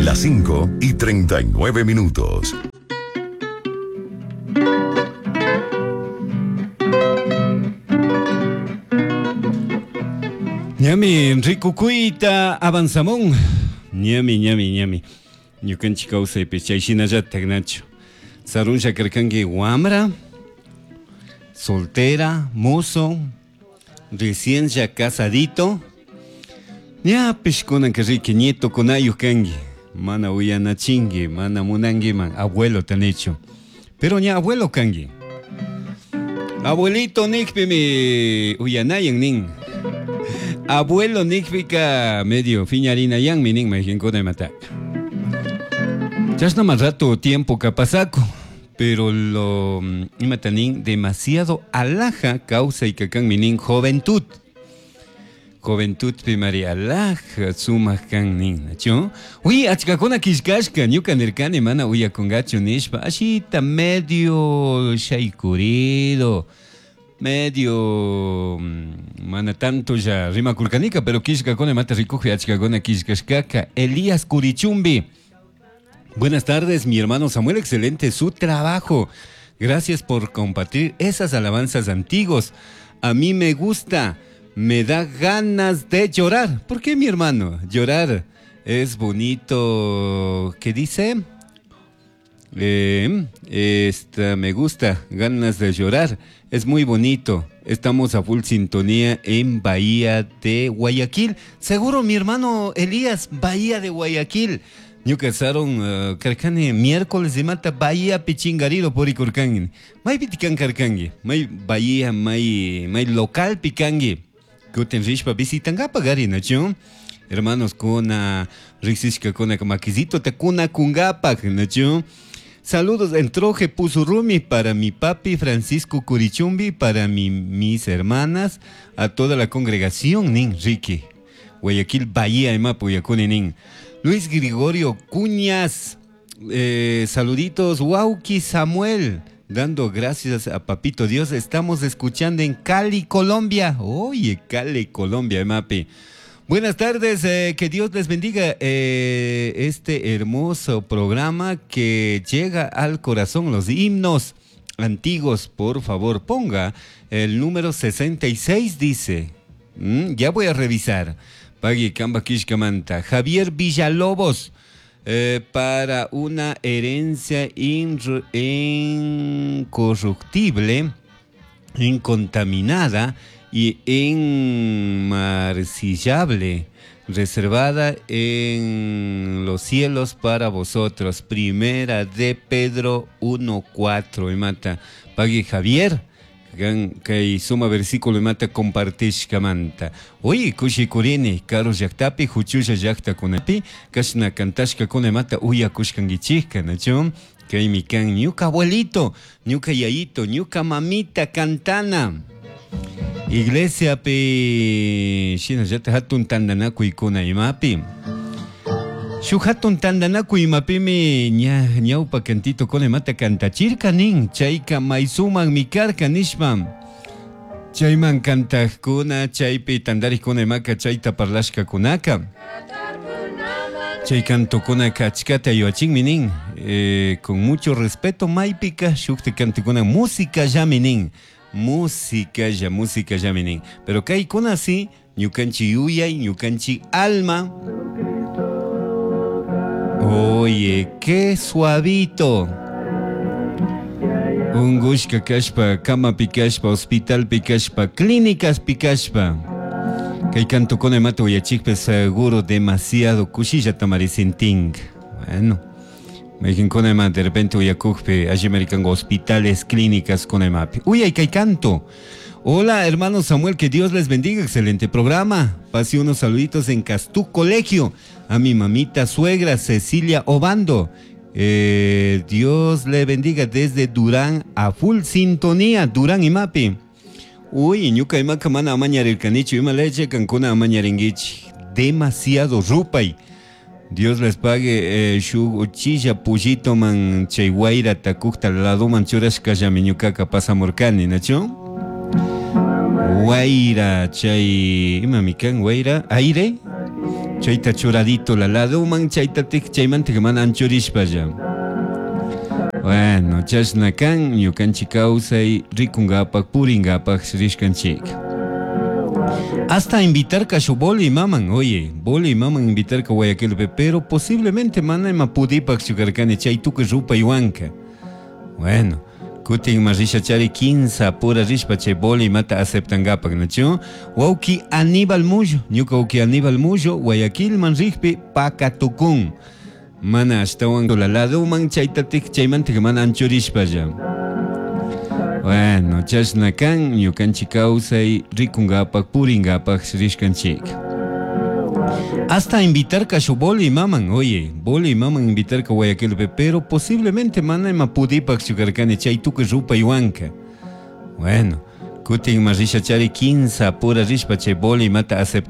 Las 5 y 39 minutos. Ñami rikukuyta avanzamun. Ñami, ñami, ñami. Ñukanchik kawsaypi chay shinallatak nachu. Sarunlla karkanki wamra, soltera, mozo, recién ya casadito. Ñapish kunanka riki nietokunayuq kanki. Mana uyanachinki, mana munankiman abuelo tanichu. Pero ña abuelo kanki. Abuelito nikpimi uyanayan nin. Abuelo nikpika medio fiñarinayanmi nin mayqinkuna imataka. Chashna más rato tiempo kapasaku. Pero lo imata nin demasiado alhaja kawsaykakanmi nin juventud. Juventud pi mari alhaja sumak kan nin, nachu? Uy, achkakuna killkashka, ñuka nirkani mana uyakungachu nishpa, ashita medio shaykurido, medio mana tanto ya rimakurkanika, pero killkakuna imata rikukpi achkakuna killkashkaka. Elías Curichumbi. Buenas tardes, mi hermano Samuel, excelente su trabajo. Gracias por compartir esas alabanzas antiguas. A mí me gusta, me da ganas de llorar. ¿Por qué, mi hermano? Llorar es bonito. ¿Qué dice? Esta, me gusta, ganas de llorar. Es muy bonito. Estamos a full sintonía en Bahía de Guayaquil. Seguro, mi hermano Elías, Bahía de Guayaquil. Ñuka saron karkani miércoles de mata Bahía Pichingarido por ikurkangi. May pitikan karkangi, may Bahía, may, may local pikangi. Kutin rishpa visitangapa gari, nachu? Hermanos kuna riksishka kuna makizito te kuna kungapak, nachu? Saludos en Troje Puzurrumi para mi papi Francisco Curichumbi, para mis hermanas, a toda la congregación, nin Ricky. Guayaquil, Bahía, Emapu, Yakuni, nin. Luis Gregorio Cuñas, saluditos, Wauki Samuel, dando gracias a Papito Dios, estamos escuchando en Cali, Colombia. Oye, Cali, Colombia, Emapi. Buenas tardes, que Dios les bendiga este hermoso programa que llega al corazón, los himnos antiguos. Por favor, ponga el número 66, dice. Ya voy a revisar. Pagui Kamba Kishkamanta. Javier Villalobos, para una herencia incorruptible, incontaminada y inmarcillable, reservada en los cielos para vosotros. Primera de Pedro 1:4. Y mata. Pagui Javier. Gan kay suma versículo mata compartishkamanta. Oye, kushikurini, karu llaktapi, huchulla llaktakunapi, kashna kantashka kuna mata uyakushkankichikka, nachu? Kaymi kan ñuka abuelito, ñuka yayito, ñuka mamita cantana. Iglesia pi, shinallata hatun tantanakuykuna imapi. Shuk hatun tantanakuy imapimi ña, ñawpa cantito kuna mata kantachirka nin, chayka maysuman mikarka nishpa. Chayman kantajkuna, chaypi tantarikuna imaka chayta parlashkakunaka. Chay cantokunaka achkata yuachinmi nin. Con mucho respeto maypika shukti cantukuna música llami nin. Música ya, música llami nin. Pero kaykuna si, ñukanchi yuyay, ñukanchi alma. Oye, qué suavito. Ungushka kashpa, cama pikashpa, hospital pikashpa, clínicas pikashpa. Kay canto con el mato uyachikpe seguro demasiado kushilla tamarisinting. Bueno, me dijen con el mate, de repente uyakukpe, allí americango hospitales, clínicas con el mapi. Uy, ay, kay canto. Hola, hermano Samuel, que Dios les bendiga, excelente programa. Pase unos saluditos en Castú Colegio. A mi mamita suegra, Cecilia Obando. Dios le bendiga desde Durán a full sintonía, Durán y Mapi. Uy, ñuka imaka mana amañarirkanichu, ima leche kankuna amañaringuichi. Demasiado rupay. Dios les pague shuk uchilla pullito man chay guaira takukta ladoman churashkallami ñukaka pasamurkani, nachu? Guaira, chay, ima mi kan, guaira, aire. Chayta churadito la ladoman chayta tik chaymanta mana anchurishpalla. Bueno, chashna kan ñukanchik kawsay rikungapak puringapak rishkanchik. Hasta invitarka shu boli maman, oye, boli maman invitarka Guayaquilpi, pero posiblemente mana ima pudipak karkani chay tukuy rupaywanka. Bueno, kutin ma risha chari kinsa pura rishpa chay boli mata aceptangapak, nachu? Wawki Aníbal Mullo, ñuka wawki Aníbal Mullo, Guayaquilman rikpi pakatukun. Mana ashtawan la ladoman chayta tik chaymanta mana anchurishpalla. Bueno, chashna kan ñukanchik kawsay rikungapak puringapak rishkanchik. Hasta invitarka shu boli maman, oye, boli maman invitarka Guayaquilpi, pero posiblemente mana ima pudipak karkani chay tukuy rupaywanka. Bueno, kutin ma risha chari kinsa pura rishpa chay boli mata aceptan.